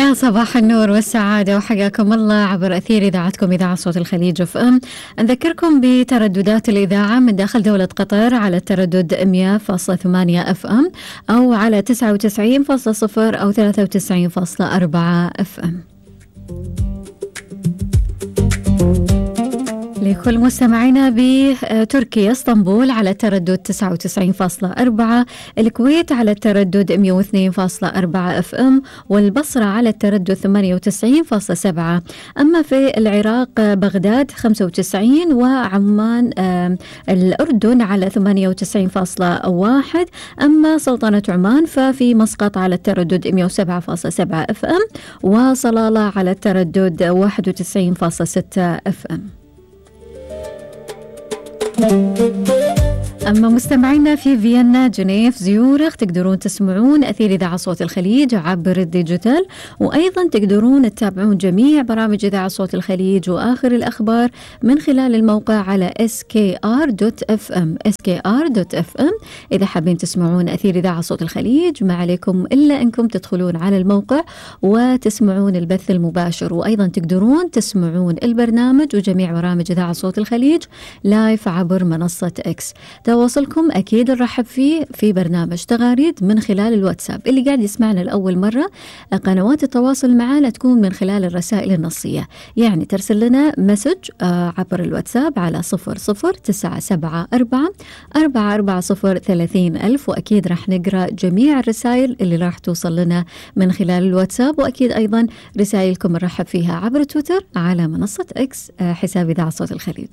يا صباح النور والسعادة وحياكم الله عبر أثير إذاعتكم إذاعة صوت الخليج اف ام. نذكركم بترددات الإذاعة من داخل دولة قطر على التردد 100.8 اف ام أو على 99.0 أو 93.4 اف ام. لكل مستمعينا بتركيا اسطنبول على التردد 99.4، الكويت على التردد 102.4 اف ام، والبصرة على التردد 98.7. أما في العراق بغداد 95، وعمان الأردن على 98.1. أما سلطنة عمان ففي مسقط على التردد 107.7 اف ام، وصلالة على التردد 91.6 اف ام. أما مستمعينا في فيينا، جنيف، زيورخ تقدرون تسمعون أثير إذاعة صوت الخليج عبر الديجيتال، وأيضا تقدرون تتابعون جميع برامج إذاعة صوت الخليج وآخر الأخبار من خلال الموقع على skr.fm. إذا حابين تسمعون أثير إذاعة صوت الخليج ما عليكم إلا أنكم تدخلون على الموقع وتسمعون البث المباشر، وأيضا تقدرون تسمعون البرنامج وجميع برامج إذاعة صوت الخليج لايف عبر منصة إكس. تواصلكم أكيد نرحب فيه في برنامج تغاريد من خلال الواتساب. اللي قاعد يسمعنا لأول مرة، قنوات التواصل معنا تكون من خلال الرسائل النصية، يعني ترسل لنا مسج عبر الواتساب على 00974 440 30,000، وأكيد راح نقرأ جميع الرسائل اللي راح توصل لنا من خلال الواتساب، وأكيد أيضا رسائلكم نرحب فيها عبر تويتر على منصة إكس حساب إذاعة صوت الخليج.